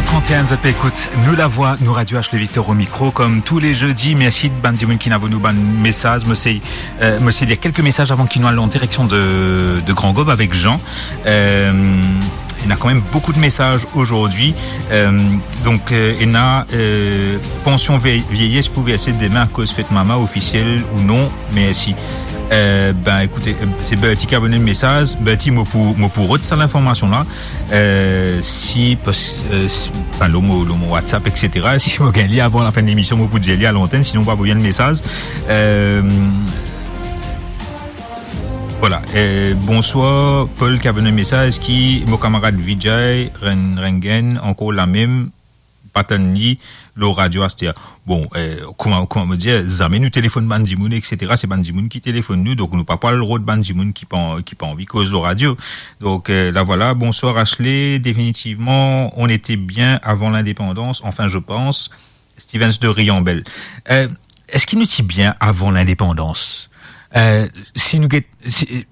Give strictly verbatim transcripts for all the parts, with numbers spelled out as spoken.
Trente et un, zot pe ekout Nou Lavwa, Nou Radio, Ashley Victor au micro, comme tous les jeudis. Mersi bann dimoun ki'nn avoy nou bann mesaz. Mo sey, euh, mo sey lir kelke mesaz avan ki nou al an direksion de, de Grand Gaube avek Jean. Euh, il y a quand même beaucoup de messages aujourd'hui. Euh, donc, euh, il y a, euh, pension vie-, vieillesse pou verse demin akoz fet mama, ofisiel ou non? Mersi. Euh, ben, écoutez, euh, c'est Bertie ki avoy nou mesaz. Bertie, mo pou, mo pou rod sa linformasion la. Euh, si, pas, euh, si, anfin, lor mo, lor mo WhatsApp, et cetera. Si mo gagn li avan lafin de lemision, mo pou dir li a lantenn, sinon, mo pou avoy enn mesaz. Euh, voilà. Euh, bonsoir, Paul ki avoy nou mesaz, ki mo kamarad Vijay Ren-, Rengen, ankor lamem, pa tann li lor radio aster. Bon, euh, kouma, kouma mo dir, zame nou telefonn bann dimoun, et cetera. Se bann dimoun ki telefonn nou, donk nou pa pou al rod bann dimoun ki pa, ki pa anvi koz lor radio. Donc, euh, là voilà. Bonsoir Ashley. Définitivement, on était bien avant l'indépendance, enfin, je pense. Stevens de Riambel. Euh, eski nou ti bien avan lindepandans? Euh, si nou get, si,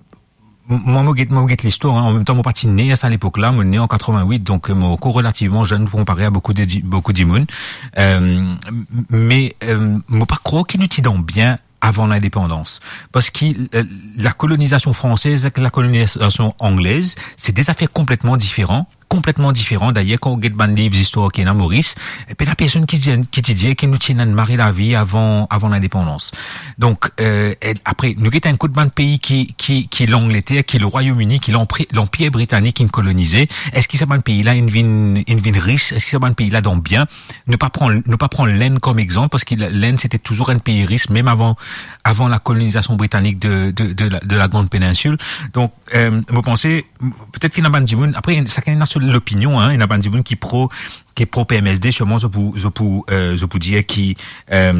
mwa, mo get, mo get listwar, hein. An mem tan, mo pa ti ne a sa lepok la. Mo ne an quatre-vingt-huit, donk, euh, mo ankor relativman zenn pou konpare a boukou de di-, boukou dimoun. Euh, m-, me, euh, mo pa krwar ki nou ti dan bien avan lindepandans. Parski, euh, lakolonizasion fransez ek lakolonizasion anglez, se de zafer konpletman diferan, konpletman diferan. Dayer, kan ou get bann liv zistwar ki ena Moris, e pena personn ki dir, ki ti dir ki nou ti ena enn mari lavi avan, avan lindepandans. Donk, euh, e apre, nou get enn kot bann pei ki, ki, ki Langleter, ki Lerwayom Ini, ki Lanpri-, Lanpir Britanik inn kolonize. Eski sa bann pei la inn vinn, inn vinn ris? Eski sa bann pei la dan bien? Nou pa pran, nou pa pran Lenn kom exanp, parski la-, Lenn, sete touzour enn pei ris, mem avan, avan lakolonizasion britanik de, de, de la, de la Grande Péninsule. Donk, euh, mo panse, m-, petet ki ena bann dimoun, apre, sakenn ena so lopinion, hein, ena bann dimoun ki pro, ki pro P M S D, sirman zot pou, zot pou, euh, zot pou dir ki, euh,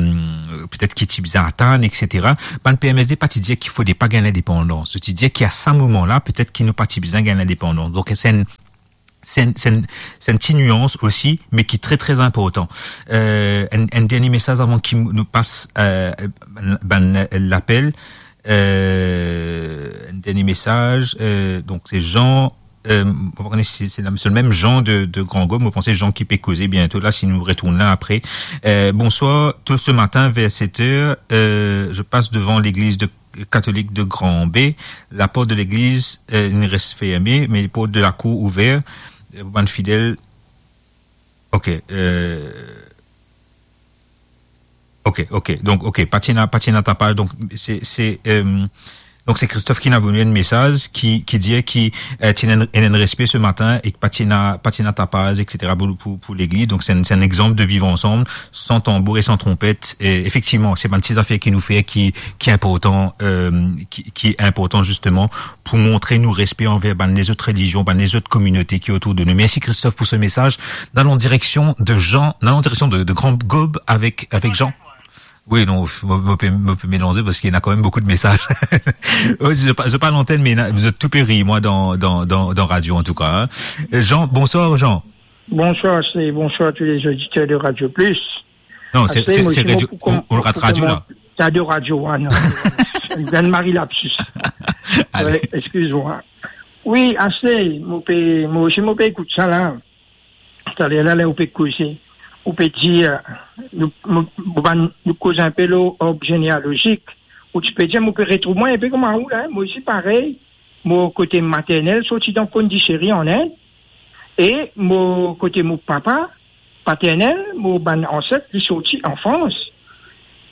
petet ki ti bizin atann, et cetera. Bann P M S D pa ti dir ki fode pa gagn lindepandans. Zot ti dir ki a sa moman la, petet ki nou pa ti bizin gagn lindepandans. Donk, se enn, se enn, se enn, se enn ti nians osi, me ki tre, tre inportan. Euh, enn, enn dernie mesaz avan ki nou pas, euh, bann, bann lapel. Euh, enn dernie mesaz, euh, donk se Jean, euh, mo pa kone si se, se le mem Jean de, de Grand Gaube, mo panse Jean ki pe koze biento la, si nou retourn la apre. Euh, bonsoir, tôt ce matin vers sept heures, euh, je passe devant l'église de, catholique de Grand Baie. La porte de l'église, euh, inn res ferme, me porte de lakour ouver, euh, pou bann fidel. Ok, euh, Ok, ok. Donk, ok, pa ti ena, pa ti ena tapaz. Donk, se, se, euh, donk, se Christophe ki'nn avoy nou enn mesaz ki, ki dir ki, euh, ti ena enn, enn respe se matin e ki pa ti ena, pa ti ena tapaz, et cetera pou, pou, pou legliz. Donk, se enn, se enn exanp de vivre ensemble, sans tambour et sans trompette. E efektivman, se bann ti zafer ki nou fer ki, ki inportan, euh, ki, ki inportan zisteman pou montre nou respe anver bann lezot relizion, bann lezot kominote ki otour de nou. Mersi Christophe pou se mesaz. Nou al an direksion de Jean, nou al an direksion de, de Grand Gaube avek, avek Jean. Wi, non, mo, mo pe, mo pe melanze parski ena kanmem boukou de mesaz. Wi, zot pa, zot pa lantenn, me ena, zot tou pe rir mwa dan, dan, dan, dan radio antouka, hein. Euh, Jean, bonsoir Jean. Bonsoir, Ashley, bonsoir tous les auditeurs de Radio Plus. Non, se, Ashley, se, mo, se mo Radio, pou kom-, ou, ou pou radio la. Koman-, sa de radio, ah, non. Ann mari lapsis. Ale. Wi, exkiz mwa. Wi, Ashley, mo pe, mo osi mo pe ekout sa la. Taler la, ler ou pe koze, ou pe dir, nou, nou, nou bann, nou koz inpe lor arb genealozik, ou ti pe dir, mo pe retrouv mwa inpe kouma ou la, mo osi parey, mo kote maternel sorti dan Pondichéry an Ind, e mo kote mo papa paternel, mo bann anset, li sorti an Frans.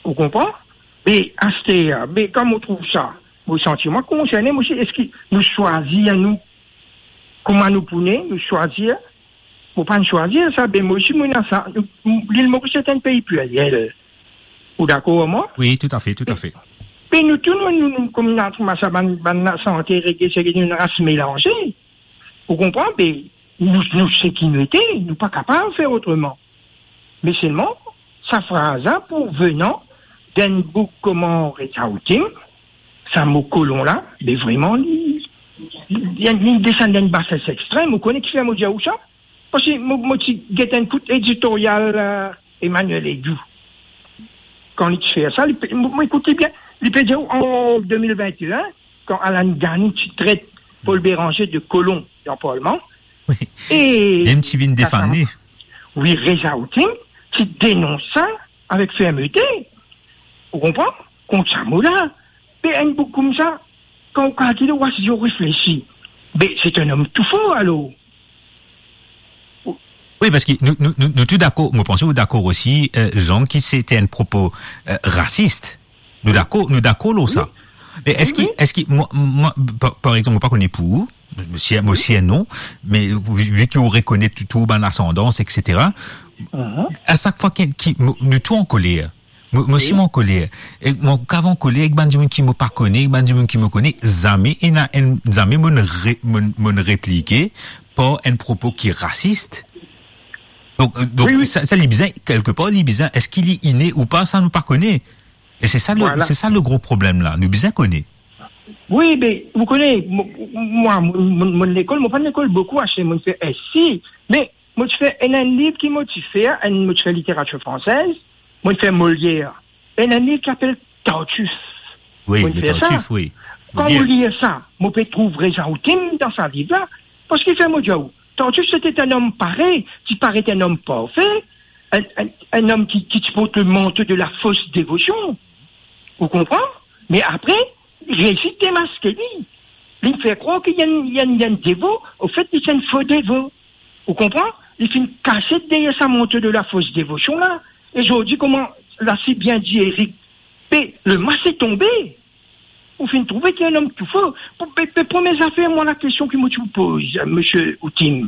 Ou konpran? Me aster, me kan mo trouv sa, mo santi mwa konserne, mo dir, eski nou swazir nou, kouma nou pou ne, nou swazir, mo pa'nn swazir sa, be mo osi mo ena sa, nou, Lil Moris se enn pei pliriel. Ou dakor ar mwa? Wi, toutafe, toutafe. Me nou tou, nou, nou, nou, kouma nou trouv sa, bann, bann lasante, rege, seki, nou enn ras melanze. Ou konpran? Be nou, nou seki nou ete, nou pa kapav fer otreman. Me selman, sa fraz la pou venan d'enn boug kouma Reza Haoutim, sa mo kolon la, be vreman, li, li, li, li desann dan enn basses extrem. Ou kone kifer mo dir ou sa? Parski mo, mo ti get enn kout editoryal, euh, Emmanuel Edoux. Kan li ti fer sa, li pe, mo, mo ekout li bien, li pe dir an de mil vint e enn, kan Alan Gani ti tret Paul Bérenger de kolon dan parlman. Wi. E mem ti vinn defann li. Wi, Reza Outim ti denons sa avek fermete. Ou konpran? Kont sa mo la, pe enn boug koumsa, kan ou kalkile, ou asize, ou reflesi, be, se enn om tou for, alor. Wi, parski nou, nou, nou, nou tou dakor, mo panse ou dakor osi, euh, Jean, ki se te enn propo, euh, rasis. Nou dakor, nou dakor lor sa. Me eski, eski, mwa, mwa, par, par exanp, mo pa kone pou ou, mo sir, mo sir non, me vi, vi ki ou rekonet tou, tou bann asandans, et cetera. A sak fwa ki, ki, mo, nou tou ankoler, mo, mo sirman ankoler. E mo kav ankoler ek bann dimoun ki mo pa kone, ek bann dimoun ki mo kone, zame ena enn, zame mo'nn re, mo'nn, mo'nn replike par enn propo ki rasis. Donk, euh, donk, wi, wi, sa, sa li bizin, kelkepar, li bizin, eski li ine ou pa, sa nou pa kone. E se sa le, vwala, se sa le gro problem la, nou bizin kone. Wi, be, ou kone, mo, mwa, mo, mo, mo lekol, mo pa lekol boukou, ase, mo fer S C, me mo ti fer enn, enn liv ki mo ti fer, enn, mo ti fer literatir fransez, mo fer Molière. Enn, enn liv ki apel Tartuffe. Wi, mo le fer sa. Tartuffe, wi. Kan mo lir sa, mo pe trouv Reza Outim dan sa liv la, parski fer mo dir ou, Tartuffe se te enn om pare, ti paret enn om parfe, enn, enn, enn om ki, ki ti port le manto de la fausse dévotion. Ou konpran? Me apre, li resi demaske li. Li fer krwar ki li enn, li enn, li enn devo, anfet, li ti enn fo devo. Ou konpran? Li finn kasiet deryer sa manto de la fausse dévotion la. E zordi, kouma la si bien di Eric, pe, le masque est tombé. Ou finn trouve ki enn om tou for. Pou, pe, pe, premie zafer, mwa, lakestion ki mo ti pou poz, euh, misie Outim,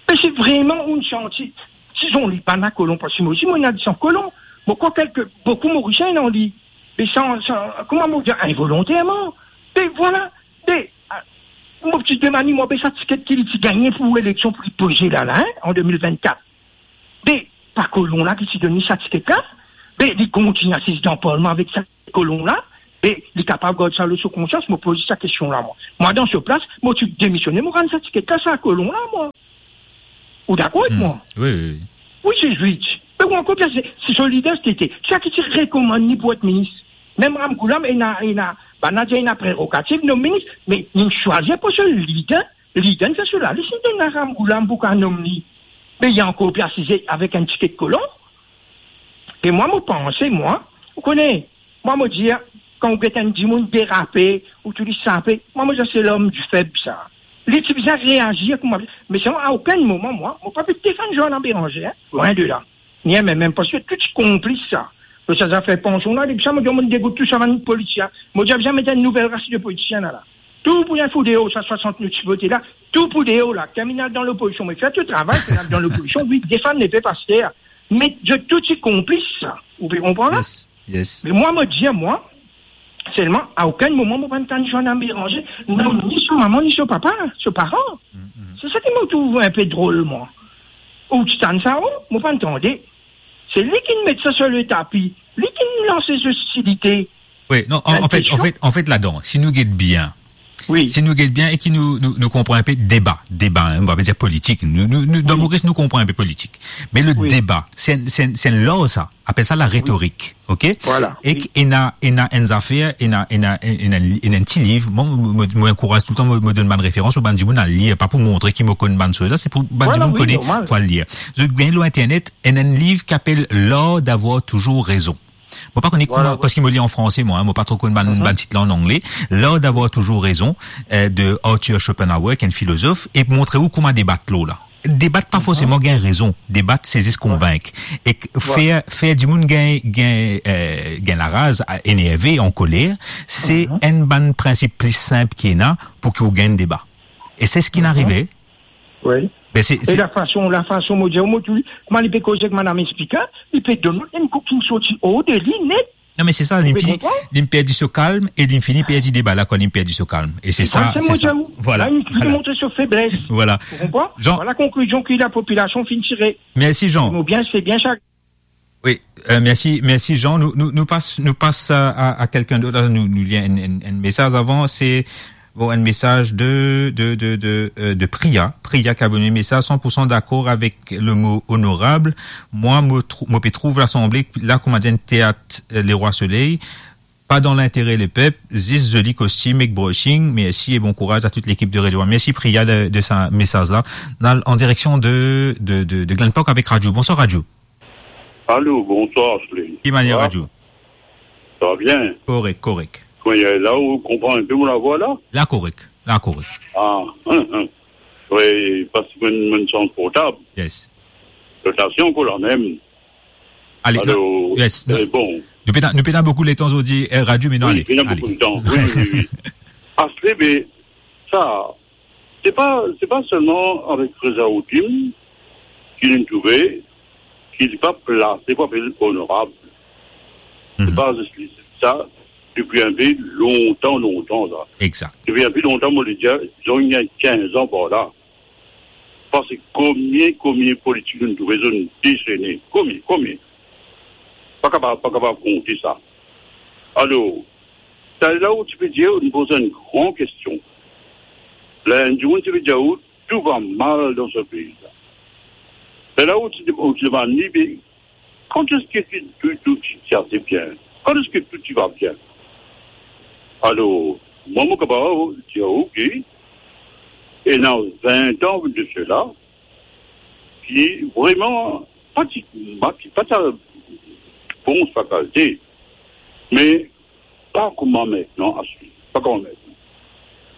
me si vreman ou santi, si zot li bann kolon, parski mo osi, mo ena disan kolon, mo krwar kelke, boukou Morisien dan li, me san, san, kouma mo dir, involonterman. Me vwala, be, ah, mo ti demann li, mwa, be sa tiket ki li ti gagne pou eleksion pou li poze la, la, hein, an de mil vennkat. Be, pa kolon la ki ti donn li sa tiket la? Be, li kontign asiz dan parlman avek sa kolon la? Be, li kapav gard sa lor so konsians? Mo poz sa kestion la, mwa. Mwa, dan so plas, mo ti demisione, mo rann sa tiket la sa kolon la, mwa. Ou dakor ek mwa? Wi, wi, wi. Wi, Zezwit. Me ou ankor pli, se, se so lider, se te, sa ki ti rekomann li pou et minis. Mem Ramgoolam ena, ena, bann la dir ena prerogativ nom minis, me li swazir pou so lider, lider fer so lalis, li donn Ramgoolam pou kapav nom li. Me li ankor pli asize avek enn tiket kolon. E mwa, mo panse, mwa, ou kone, mwa, mo dir, kan ou get enn dimoun derape, ou tou li sape, mwa, mo dir, se lom di feb, sa. Li ti bizin reazir kouma, me selman, a okenn moman, mwa, mo pa pe defann Joanna Bérangère, hein, lwin de la. Ni mem, mem, parski tou ti konplis sa. Lor sa zafer pansion la, depi sa, mo dir, mo degout tou sa bann politisien. Mo dir, bizin met enn nouvel ras de politisien la, la. Tou pou enn fou deor, sa swasant nou ti vote la, tou pou deor la. Ki inn al dan lopozision, me fer to travay, ki inn al dan lopozision, wi, defann lepep aster. Me zot tou ti konplis sa. Ou pe konpran la? Yes, yes. Me mwa, mo dir, mwa, selman, a okenn moman, mo pa'nn tann Joanna Bérangère, non, ni so mama, ni so papa, so paran. Mm, mm. Se sa ki mo trouv inpe drol, mwa. Ou ti tann sa, oh, mo pa'nn tande. Se li ki'nn met sa sir le tapi. Li ki'nn lans ostilite. Wi, non, an, an fet, an fet, an fet, ladan, si nou get bien, wi, si nou get bien e ki nou, nou, nou konpran inpe deba, deba, hein, nou pa pe dir politik. Nou, nou, nou, dan Moris, nou konpran inpe politik. Me le deba, se, se, se lar sa, apel sa laretorik, ok? Vwala. Ek ena, ena enn zafer, ena, ena, ena, ena enn ti liv, mwa, mo, mo, mo ankouraz toultan, mo, mo donn bann referans, pou bann dimoun al lir, pa pou montre ki mo konn bann soz la, se pou bann dimoun kone, pou al lir. Zot gagn lor internet, ena enn liv ki apel L'art d'avoir toujours raison. Mo pa kone kouma, parski mo li an franse, mwa, hein, mo pa tro konn bann, bann tit la an angle. L'art d'avoir toujours raison, euh, de Arthur Schopenhauer, ki enn filozof, e montre ou kouma debat lor la. Debat pa forseman gagn rezon, debat se zis konvink. E k-, fer, fer dimoun gagn, gagn, euh, gagn laraz, a, enerve, ankoler, se enn bann prinsip pli sinp ki ena pou ki ou gagn deba. E se seki inn arive. Wi. Be se, e se lafason, lafason mo dir, mo tou, kouma li pe koze ek madam spiker, li pe donn enn kou ki sorti or de li net. Non, me se sa, li fini, li perdi so kalm e li fini perdi deba la, kan li perdi so kalm. E se sa, se sa. Vwala, li montre so febles. Vwala. Ou konpran? Jean. Vwala konklizion ki lapopilasion finn tire. Mersi, Jean. Mo bien, se bien sa. Wi, euh, mersi, mersi Jean. Nou, nou, nou pas, nou pas a, a, a kelkenn dot. Nou, nou lir enn, enn, enn mesaz avan. Se, bon, enn mesaz de, de, de, de, euh, de Priya. Priya ki abone mesaz, san pou san dakor avek le mo onorab. Mwa, mo trou-, mo pe trouv Lasanble la kouma enn teat, euh, Lerwa Soley. pa dan lintere lepep, zis zoli kostim ek brushing. Mersi e bon kouraz a tout lekip de Radio One. Mersi Priya de, de sa mesaz la. N al an direksion de, de, de, de Glen Park avek Raju. Bonswar Raju. Alo, bonswar Ashley. Ki manier Raju? Sa va bien? Korek, korek. Kouma la, ou konpran inpe mo lavwa la? La korek, la korek. Ah, hein, hein. Wi, paski mo, mo sanz portab. Yes. Lotasion ankor lamem. Ale, alo, non, yes, eh, non. Bon. Nou pena, nou pena boukou letan zordi, eh, Raju, me non, wi, ale, pena ale. Boukou letan. Wi, wi, wi, wi. Asle, me sa, se pa, se pa selman avek Reza Hakim ki nou trouve ki li pa plase pou apel onorab. Se pa zis li, sa, depi inpe lontan, lontan, sa. Exact. Depi inpe lontan, mo le dir, dizon, ena kinz an par la. Paski komie, komie politik nou trouve zot dezene. Komie, komie. Pa kapav, pa kapav konte sa. Alor, sa la ou ti pe dir, ou poz enn gran kestion. La, enn dimoun ti pe dir ou, tou va mal dan se pei la. Sa la ou ti, ou ti demann li, be, kan eski tou, tou ti, ti ase bien? Kan eski tou ti va bien? Alor, mwa, mo kapav dir ou ki ena vin an de sela, ki vreman pa ti, pa ti, pa ti bon sa kalite, me pa kouma aster, pa kouma aster.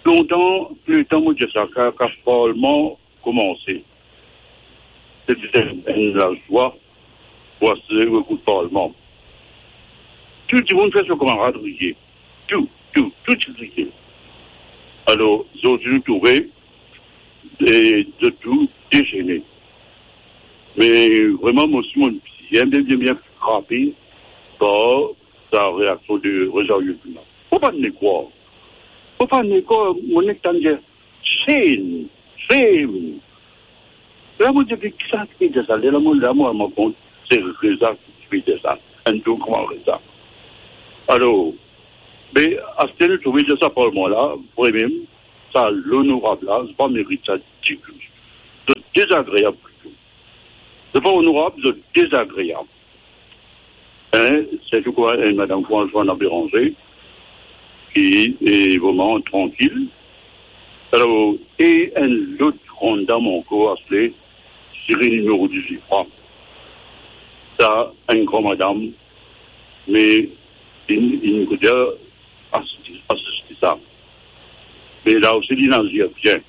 Lontan, letan mo dir sa, kan, kan parlman koumanse, se ti enn, enn lazwa pou asize ekout parlman. Tou dimoun fer so kamarad riye. Tou, tou, tou ti riye. Alor, zordi nou trouve, e, zot tou dezene. Me vreman, mo osi, mo bien, bien, bien, bien frape par sa reaksion de Reza Hakim la. Fo pa ne krwar. Fo pa ne krwar, mo nek tann dir, shame, shame. La, mo dir, "Be, kisannla ki pe dir sa?" Lerla mo, la mo rann mwa kont, se Reza ki pe dir sa. Enn tour kouma Reza. Alor, be, aster nou trouve dir sa parlman la, vremem, sa lonorab la, zot pa merit sa ditou. Zot dezagreab plito. Zot pa onorab, zot dezagreab. Hein, sirtou kouma enn madam kouma Joanna Béranger, ki e vreman trankil. Alor, e enn lot gran dam ankor, aster, seri nimero diz-wit fwa. Sa, enn gran madam, me inn, inn kote asize, asize sa. Me la osi, li inn azir bien.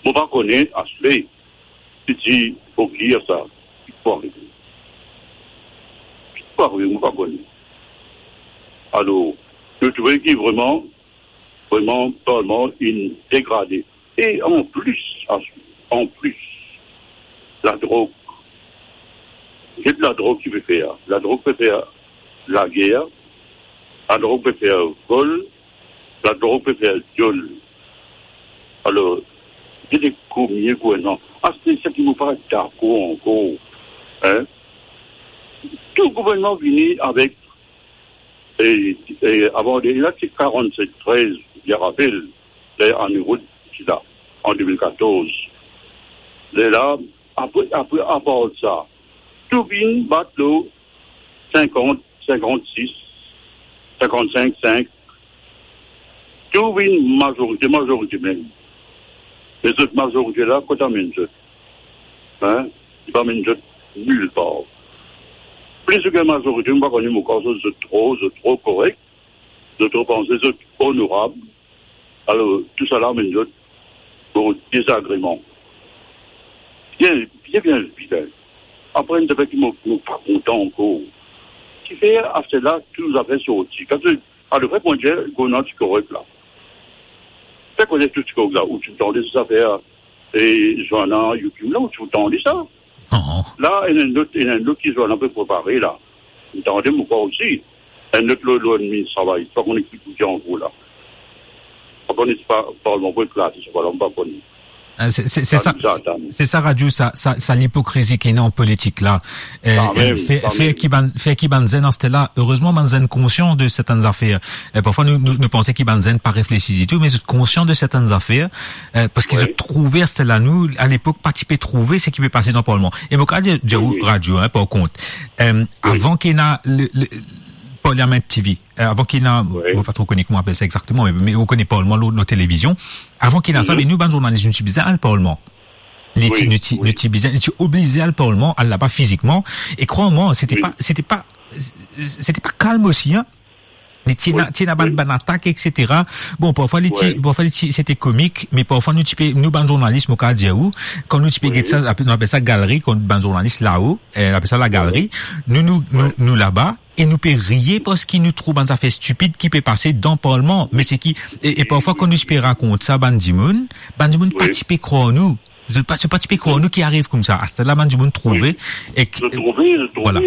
Mo pa kone, aster, si ti fo dir sa, ki pou arive? Ki pou arive, mo pa kone. Alor, nou trouve ki vreman, vreman, parlman inn degrade. E anplis, anplis, ladrog. Get ladrog ki pe fer. Ladrog pe fer lager, ladrog pe fer vol, ladrog pe fer viol. Alor, get koumie gouvernman. Aster, seki mo pa dakor ankor, hein? Tou gouvernman vini avek, e, e, avan de la, ti karannset trez, mo rapel, ler Annie Rood ti la, an de mil katorz. Lerla, apre, apre, apar sa, tou vinn bat lor sinkant, sinkant-sis, sinkant-sink, sink, tou vinn mazorite, mazorite mem. Me zot mazorite la, kot amenn zot? Hein? Li pa amenn zot nilpar. Plis ki mazorite, mo pa kone, mo krwar zot, zot tro, zot tro korek, zot tro panse zot onorab. Alor, tousala amenn zot lor dezagreman. Bien, bien, bien vit, hein. Apre, enn zafer ki mo, mo pa kontan ankor. Kifer aster la, tou zafer sorti. Kan to, a, le fre pou dir, gouvernman ti korek la. Fer koze tou ti korek la, ou ti tande sa zafer, e, Joanna Hakim la, ou ti tande sa? Non. La, ena enn lot, ena enn lot ki Joanna pe prepare la. Ou tande, mo krwar osi. Enn lot lor, lor enn minis travay, pa kone ki pou dir ankor la. Pa kone si pa, parlman pou eklate, sa pa la, pa kone. Eh, se, se, se sa, bizar, Dani. Se sa, Raju, sa, sa, sa lipokrizi ki ena an politik la. Eh, kanmem, eh, fer, fer kanmem. Ki bann, fer ki bann zenn aster la, erezman, bann zenn konsian de sertenn zafer. Eh, parfwa, nou, nou, nou panse ki bann zenn pa reflesi ditou, me zot konsian de sertenn zafer, eh, paski, wi, zot trouve aster la, nou, a lepok, pa ti pe trouve seki pe pase dan parlman. E mo kapav dir, dir ou, wi, wi, Raju, hein, par kont, eh, wi, avan ki ena le, le, Parliament TV. Euh, avan ki ena, wi, mo pa tro kone kouma apel sa exakteman, me, me ou kone Parlman lor, lor televizion. Avan ki ena sa, mhm, me nou bann zournalis, nou ti bizin al Parlman. Nou ti, wi, nou ti, wi, nou ti bizin, nou ti oblize al Parlman, al laba fizikman. E krwar mwa, se te, wi, pa, se te pa, se te pa kalm osi, hein. Li ti ena, wi, ti ena bann, wi, bann atak, et cetera. Bon, parfwa li ti, wi, parfwa li ti, se te komik, me parfwa nou ti pe, nou bann zournalis, mo kapav dir ou, kan nou ti pe, wi, get sa, apel, nou apel sa galri, kan bann zournalis lao, euh, apel sa lagalri, wi, nou, nou, nou, wi, nou laba, e nou pe riye parski nou trouv bann zafer stipid ki pe pase dan Parlman. Me seki, e, e parfwa kan nou ti pe rakont sa bann dimoun, bann dimoun pa, wi, ti pe krwar nou. Zot pa, zot pa ti pe krwar nou ki ariv koumsa. Aster la bann dimoun trouve, wi, ek, zot trouve, zot trouve, vwala.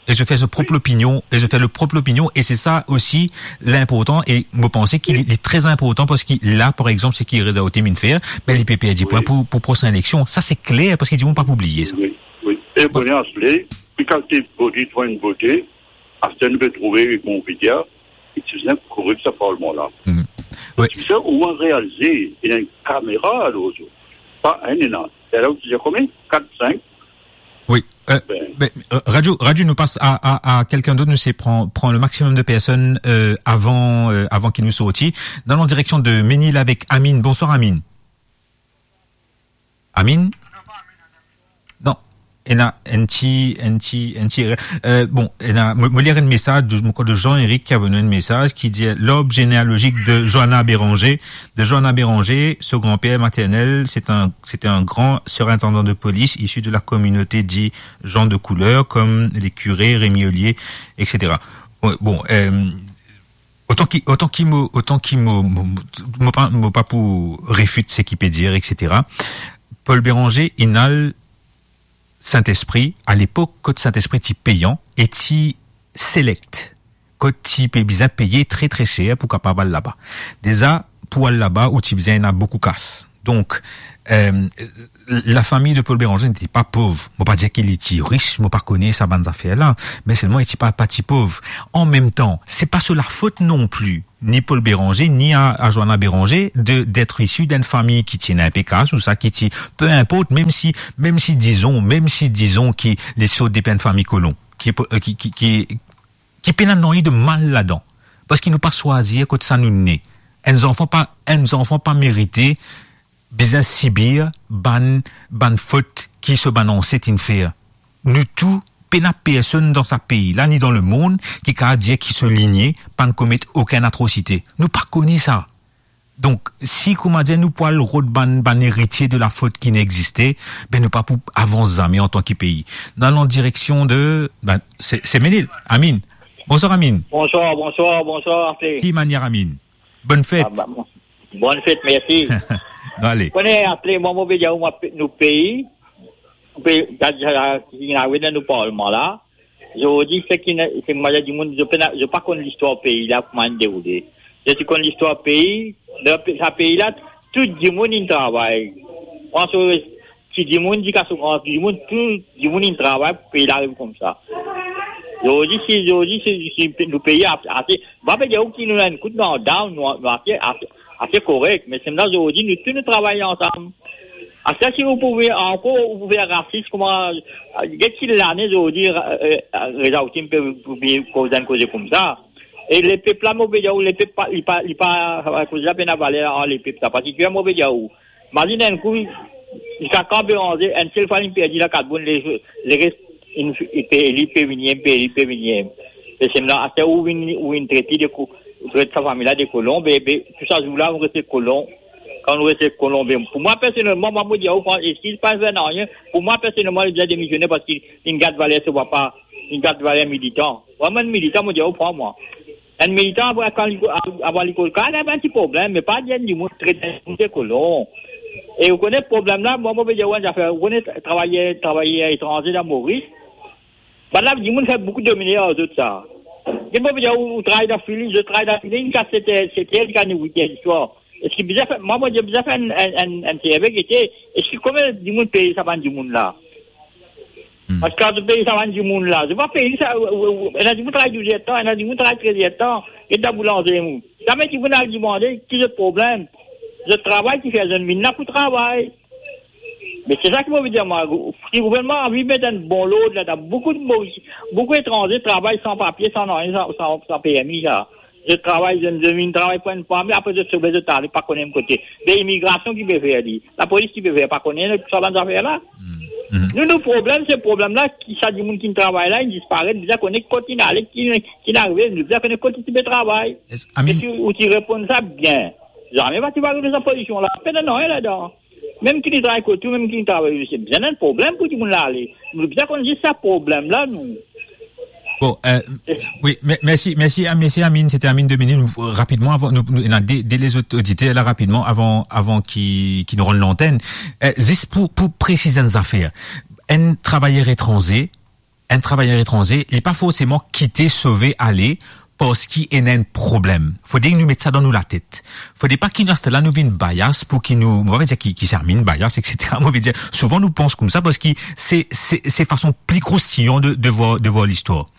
E zot fer zot prop, wi, lopinion, e zot fer zot prop lopinion, e se sa osi linportan, e mo panse ki, wi, li, li tre inportan, parski la, par exanp, seki Reza Hatim inn fer, be li pe perdi, wi, pwin pou, pou prosin eleksion. Sa se kler, parski dimoun pa pou bliye sa. Wi, wi. E bon, bon, aster, pi kalite bote, trouv enn bote, aster nou pe trouve, kouma ou pe dir, e ti bizin korek sa Parlman la. Mhm. Wi. Ti bizin oumwin realize, ena enn kamera lor zot. Pa enn, ena. E la, ou ti dir konbien? Kat, sink. Wi. Euh, ben, ben, euh, radio, radio, nou pas a, a, a kelkenn dot, nou sey pran, pran le maximum de personnes, euh, avan, euh, avan ki nou sorti. Nou al an direksion de Menil avek Amine. Bonsoir, Amine. Amine? Non. Ena enn ti, enn ti, enn ti erer. Euh, bon, ena, mo, mo lir enn mesaz de, mo krwar de Jean-Éric ki avoy nou enn mesaz ki dir, l'arbre généalogique de Johanna Béranger, de Johanna Béranger, son grand-père maternel, c'est un, c'était un grand surintendant de police issu de la communauté dit gens de couleur, comme les curés, Rémy Ollier, et cetera. Bon, bon, euh, otan ki, otan ki mo, otan ki mo, mo, mo, mo pa, mo pa pou refit seki pe dir, et cetera. Paul Béranger, inn al Sint-Espri, a lepok kot Sint-Espri ti peyan e ti select, kot ti pe bizin peye tre, tre ser pou kapav al laba. Deza, pou al laba, ou ti bizin ena boukou kas. Donk, euh, lafami de Paul Béranger nete pa pov. Mo pa dir ki li ti ris, mo pa kone sa bann zafer la, me selman li ti pa, pa ti pov. An mem tan, se pa so lafot non pli ni Paul Béranger, ni a, a Johanna Béranger, de, d'être issu d'une famille ki ti ena inpe kas ou sa ki ti, peu importe, mem si, mem si, dizon, mem si, dizon, ki li sort depi enn fami kolon, ki, euh, ki, ki, ki, ki pena nanye de mal ladan. Parski nou pa swazir kot sa nou ne. Enn zanfan pa, enn zanfan pa merite bizin sibir bann, bann fot ki so bann anset inn fer. Nou tou, pena personn dan sa pei la, ni dan lemond, ki kapav dir ki so linie pa'nn komet okenn atrosite. Nou pa kone sa. Donk, si, kouma dir, nou pou al rod bann, bann eritie de lafot ki inn existe, be, nou pa pou avans zame antan ki pei. Nou al an direksion de, be, se, se Menil. Amine. Bonsoir, Amine. Bonsoir, bonsoir, bonsoir, Aple. Ki manier, Amine? Bonn fet. Ah, ba, bon, bonn fet, mersi. Bon, ale. Kone, Aple, mwa, mo pe dir ou, mwa, pe-, nou pei, nou pei, sa, sa, sa, ki inn arive dan nou parlman la, zordi, seki, seki, mo dir dimoun, zot pena, zot pa konn listwar pei la, kouma inn deroule. Zot ti konn listwar pei, dan pe-, sa pei la, tou dimoun inn travay. Pran so ti dimoun, ziska so gran dimoun, tou dimoun inn travay pou pei la ariv koumsa. Zordi, si, zordi, si, si nou pei a-, ase, mo pa pe dir ou ki nou ena enn kout, nou down, nou, nou ase, ase, ase korek, me selman zordi, nou tou nou travay ansam. Aster si ou pou vinn ankor, ou pou vinn rasis, kouma, get ki lane zordi, euh, euh, Reza Hatim pe, pou vinn koz enn koze koumsa. E lepep la, mo pe dir ou, lepep pa, li pa, li pa, koze la pena valer ar lepep sa, parski mo pe dir ou, mazinn enn kou, ziska kan Béranger, enn sel fwa li perdi la, kat bourn, le, leres, inn, inn pe, li pe vini, inn pe, li pe vini. E selman, aster ou vinn, ou vinn tret li de ko-, tret sa fami la de kolon, be, be, tou sa zour la, ou reste kolon. Kan ou reste kolon, be, pou mwa, personelman, mwa, mo dir ou, fran-, eskiz, pa fer nanye, pou mwa, personelman, li bizin demisione parski li gard valer so papa, li gard valer militan. Mwa, mo enn militan, mo dir ou, pran mwa. Enn militan, avan, kan li, avan li kol, kan li ena enn ti problem, me pa dir enn dimoun tret enn dimoun de kolon. E ou kone problem la, mwa, mo pe dir ou enn zafer, ou kone travayer, travayer etranze dan Moris, bann la, dimoun fer boukou domine ar zot sa. Get mo pe dir ou, ou travay dan Philips, zot travay dan Philips, ziska set er, set er, ziska wit er diswar. Eski bizin fer, mwa, mo dir bizin fer enn, enn, enn, enn serve, gete, eski konbien dimoun peye sa bann dimoun la? Hmm. Parski kan zot peye sa bann dimoun la, zot pa peye sa, ou, ou, ou, ena dimoun travay douz er tan, ena dimoun travay trez er tan, e dan boulanzeri, mou. Zame dimoun al dimande ki zot problem. Zot travay ki fer zot vinn la pou travay. Me se sa ki mo pe dir mwa, si gouvernman anvi met enn bon lord ladan, boukou, boukou etranze travay san papie, san nanye, san, san, san permi, sa. Zot travay, zot, zot vinn travay pou enn fwa, me apre zot sove, zot ale, pa kone kote. Be imigrasion ki pe fer li, lapolis ki pe fer, pa kone sa bann zafer la. Nou, nou problem, se problem la, ki sa dimoun ki travay la, inn disparet, bizin kone kot inn ale, ki, ki inn arive, bizin kone kot ti pe travay. Yes, I mean, e si ou ti reponn sa bien, zame pa ti pe arive sa pozision la, pena nanye ladan. Mem ki li travay kot ou, mem ki li travay, se bizin enn problem pou dimoun la ale. Nou bizin konn zis sa problem la, nou. Bon, euh, oui, me-, merci, merci, ah, merci Amine, c'était Amine Dominique. Nous, rapidement, avant, nous, nous, on a des, des les autres auditeurs là rapidement, avant, avant qui, qui nous rendent l'antenne. Euh, zis pou, pou presiz enn zafer. Enn travayer etranze, enn travayer etranze, li pa forseman kite, sove, ale, parski ena enn problem. Fode nou met sa dan nou latet. Fode pa ki nou aster la nou vinn bias pou ki nou, mo pa pe dir ki, ki Amine bias, et cetera. Mo pe dir, souvan nou pans koumsa parski se, se, se fason pli kroustiyan de, de vwar, de vwar listwar.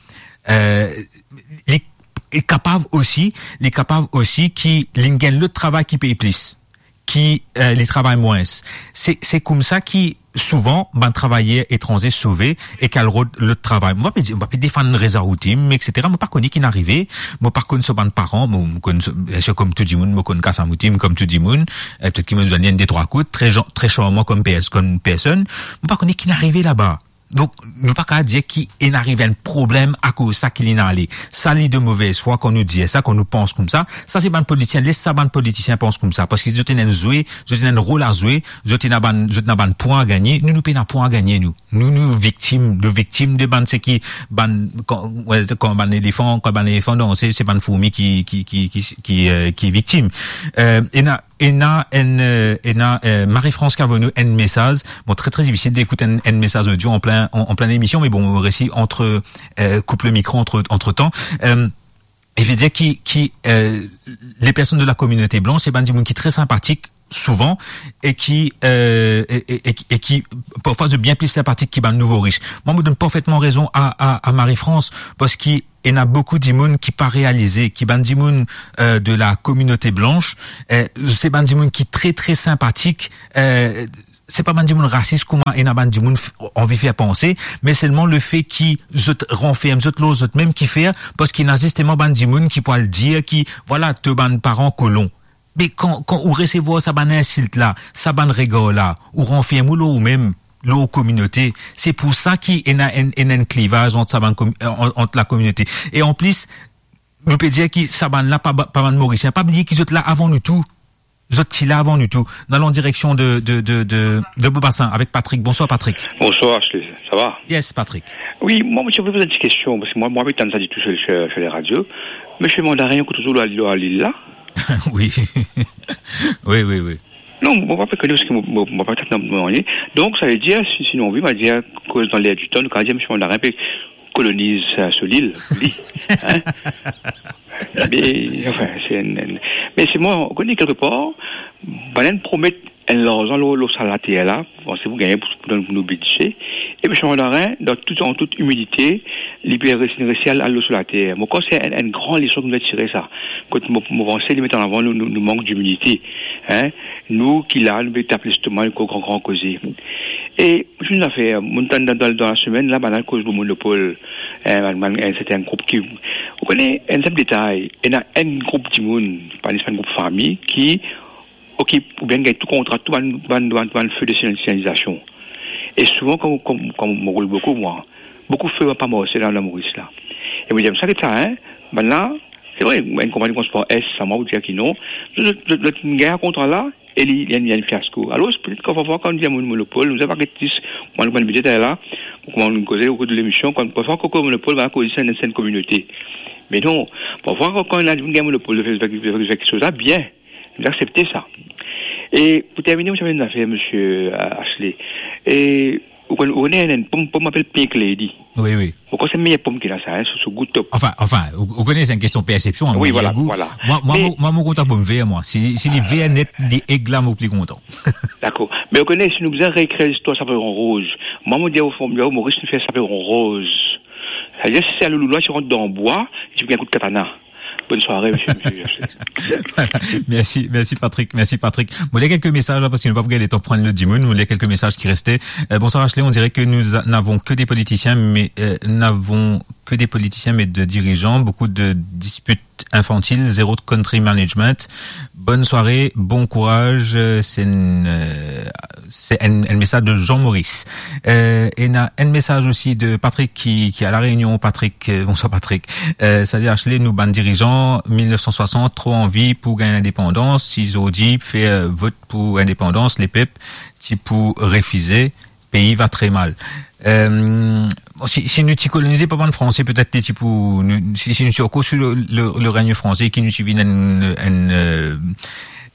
Euh, li, li kapav osi, li kapav osi ki li gagn lot travay ki pey plis, ki, euh, li travay mwins. Se, se koumsa ki souvan bann travayer etranze sove ek al rod lot travay. Mo pa pe dir, mo pa pe defann Reza Outim, et cetera. Mo pa kone ki inn arive, mo pa konn so bann paran, mo, mo konn so, biensir, kom tou dimoun, mo konn Kassam Outim kom tou dimoun. Euh, petet ki mo zwenn li enn de trwa kout, tre jan-, tre sharman kom pers-, kom personn. Mo pa kone ki inn arive laba. Donk, nou pa kapav dir ki inn arive enn problem akoz sa ki li inn ale. Sa li de movez fwa kan nou dir sa, kan nou pans koumsa. Sa se bann politisien, les sa bann politisien pans koumsa, parski zot ena enn zwe, zot ena enn rol a zwe, zot ena bann, zot ena bann pwin a gagne, nou, nou pena pwin a gagne, nou. Nou, nou viktim, nou viktim de bann seki, bann, kan, we, kan bann elefan, kan bann elefan danse, se bann fourmi ki, ki, ki, ki, ki, euh, ki viktim. Euh, ena, ena enn, euh, ena, euh, Marie-France ki avoy nou enn mesaz. Bon, très, très difficile d'écouter un, un message audio en plein, en, en pleine émission, mais bon, on réussit entre, euh, coupe le micro entre, entre-temps. Euh, e ve dir ki, ki, euh, les personnes de la communauté blanche, se bann dimoun ki tre sinpatik souvan e ki, euh, e, e, e, e ki parfwa zot bien pli sinpatik ki bann nouvo rich. Mwa, mo donn parfetman rezon a, a, a Marie-France, parski ena boukou dimoun ki pa realize ki bann dimoun, euh, de la communauté blanche, euh, se bann dimoun ki tre, tre sinpatik, euh, se pa bann dimoun rasis kouma ena bann dimoun f-, anvi fer panse, me selman lefe ki zot ranferm zot lor zot mem ki fer, parski ena zisteman bann dimoun ki pou al dir ki, vwala, to bann paran kolon. Me kan, kan ou resevwar sa bann insilt la, sa bann regar la, ou ranferm ou lor ou mem, lor kominote. Se pou sa ki ena enn, ena enn klivaz ant sa bann komi-, ant, ant lakominote. E anplis, nou pe dir ki sa bann la pa ba-, pa bann Morisien. Pa bliye ki zot la avan nou tou. Zot ti la avan nou tou. Nou al an direksion de, de, de, de, de Bobasin avek Patrick. Bonswar, Patrick. Bonswar, Ashley. Sa va? Yes, Patrick. Wi, mwa, mo ti anvi poz enn ti kestion, parski mwa, mwa, mo tann sa ditou lor, lor, lor leradio. Misie Mandarin, kote ou lor, lor lil la? Wi. Wi, wi, wi. Non, mo pa pe kone, parski mo, mo, mo pa tann nanye. Donk, sa ve dir, si, si nou anvi, mo dir, koz dan ler di tan, nou kapav dir, Misie Mandarin pe koloniz, euh, so lil, li. Hein? Me, anfin, se enn, enn, me se mwa, ou kone, kelkepar, bann la inn promet enn larzan lor, lor sa later la, panse pou gagne pou, pou donn nou bidze. E Misie Mandarin, dan tou, an tout imidite, li pe resi, resi al, al lor so later. Mo krwar se enn, enn gran leson ki nou dwe tire sa. Kot mo, mo panse li met an avan nou, nou, nou mank dimidite. Hein? Nou ki la, nou pe tap lestoma, nou koz gran, gran koze. E, mo ti ena enn zafer, mo tann dan, dan, dan lasemenn la, bann la koz lor monopol, hein, bann, bann, enn serten group ki, ou kone, enn sinp detay, ena enn group dimoun, pa, pa enn group fami, ki okip oubien gagn tou kontra, tou bann, bann, bann, bann fe de signalizasion. E souvan, kan, kan, kan mo roul boukou, mwa, boukou fe pa marse la, la Moris la. E mo dir, sa, get sa, hein, bann la, se vre, enn konpagni transpor S, sa, mwa, ou dir ki non, zot, zot, zot, zot gagn kontra la, e li, li, li enn fiasko. Alor, petet kan, parfwa, kan nou dir monopol, nou pa get zis, mwa, nou, mwa, nou, petet la, kouma nou koze okour de lemision, kan, parfwa, kan monopol, va koz se enn, se enn kominote. Me non, parfwa, kan, kan ena dimoun gagn monopol, fer, fer, fer, fer kiksoz la, bien. Nou aksepte sa. E pou termine, mo ti ena enn zafer, misie, euh, Ashley. E ou konn, ou konn enn, enn pom, pom apel Pink Lady. Wi, wi. Ou konn se meyer pom ki ena sa, hein, so, so gou top. Anfin, anfin, ou, ou kone, se enn kestion persepsion, hein, wi, meyer gou. Vwala, vwala. Mwa, mwa, me mo, mwa, mo kontan pom ver, mwa. Si, si li ver net, li egla, mo pli kontan. Dakor. Me ou kone, si nou bizin rekre listwar Saveron Roz, mwa, mo dir, o fon, Moris, nou fer Saveron Roz. Sa ve dir, si se Louloulwa, ti rant dan bwa, ti pou gagn kout katana. Bonne soirée, monsieur, monsieur Ashley. Voilà. Merci, merci Patrick, merci Patrick. Mo lir kelke mesaz la, parski nou pa pou gagn letan pran lot dimoun. Mo lir kelke mesaz ki reste. Euh, bonsoir Ashley, on dirait que nous a-, n'avons que des politiciens, mais, euh, n'avons que des politiciens, mais de dirigeants, beaucoup de disputes infantiles, zéro country management. Bonne soirée, bon courage, euh, c'est une, euh, c'est un, un message de Jean-Maurice. Euh, ena un message aussi de Patrick qui, qui est à La Réunion. Patrick, euh, bonsoir Patrick. Euh, salut Ashley, nou bann dirizan, mil nef san swasant, tro anvi pou gagn lindepandans. Si zordi fer, euh, vot pou lindepandans, lepep ti pou refize, pei va tre mal. Euh, bon, si, si nou ti kolonize par bann Franse, petet li ti pou, nou, si, si nou ti ankor sou le, le, le règne français, ki nou ti vinn enn, enn, euh,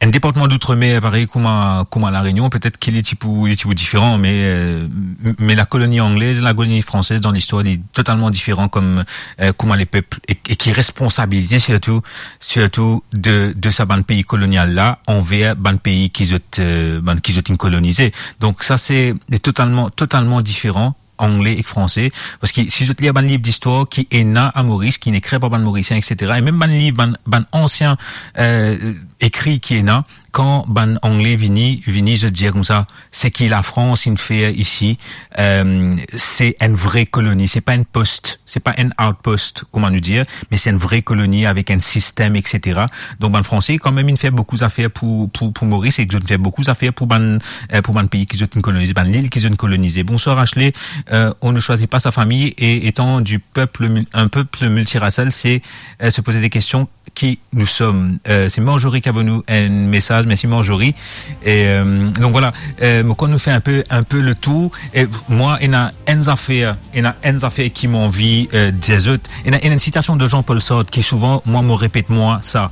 enn departman d'outre-mer, parey kouma, kouma La Réunion, petet ki li ti pou, li ti pou diferan, me, euh, m-, me la colonie anglaise, la colonie française dan listwar, li totalman diferan kom, euh, kouma lepep, e, e ki responsabilize sirtou, sirtou de, de sa bann pei kolonial la, anver bann pei ki zot, euh, bann ki zot inn kolonize. Donk sa se totalman, totalman diferan, angle ek franse, parski si zot lir bann liv distwar ki ena a Moris, ki inn ekrir par bann Morisien, et cetera, e mem bann liv, bann, bann ansien, euh, ekri ki ena, kan bann Angle vini, vini, zot dir koumsa, seki Lafrans inn fer isi, euh, se enn vre koloni, se pa enn post, se pa enn outpost, kouma nou dir, me se enn vre koloni avek enn sistem, et cetera. Donk bann Franse, kanmem, inn fer boukou zafer pou, pou, pou Moris, e zot inn fer boukou zafer pou bann, euh, pou bann pei ki zot inn kolonize, bann lil ki zot inn kolonize. Bonsoir Ashley. Euh, on ne choisit pas sa famille et étant du peuple mul-, un peuple multiracial, c'est, euh, se poser des questions qui nous sommes. Euh, c'est Marjorie qui a envoyé nous un message. Merci Marjorie. Et, euh, donc voilà, euh, mo krwar nou fer un peu, un peu le tour. E mwa, ena enn zafer, ena enn zafer ki mo anvi, euh, dir zot. Ena, ena enn sitasion de Jean-Paul Sartre ki souvan, mwa, mo repet mwa sa.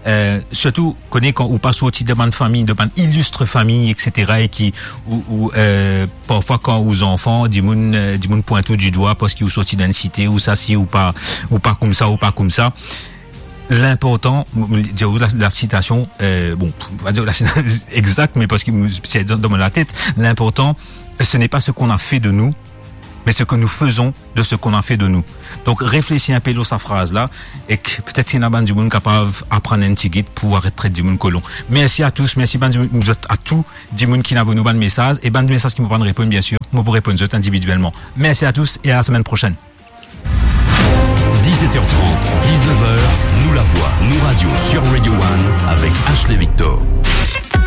Euh, sirtou, kone kan ou pa sorti de bann fami, de bann ilistre fami, et cetera, e ki, ou, ou, euh, parfwa kan ou zanfan, dimoun, euh, dimoun pwint ou didwa parski ou sorti dan enn site, ou sa si, ou pa, ou pa koumsa, ou pa koumsa. Linportan, mo, mo dir ou la, la sitasion, euh, bon, mo pa dir la sitasion exact, me parski mo, se dan, dan mo latet, linportan, ce n'est pas ce qu'on a fait de nous, mais ce que nous faisons de ce qu'on a fait de nous. Donk, reflesi inpe lor sa fraz la, ek petet ena bann dimoun kapav aprann enn tigit pou aret tret dimoun kolon. Mersi a tous, mersi bann dimoun, zot a tou dimoun ki inn avoy nou bann mesaz, e bann mesaz ki mo pa'nn reponn, bien sir, mo pou reponn zot individielman. Merci à tous et à la semaine prochaine. Dix-sept heures trente, dix-neuf heures, Nou Lavwa, Nou Radio sur Radio One avec Ashley Victor.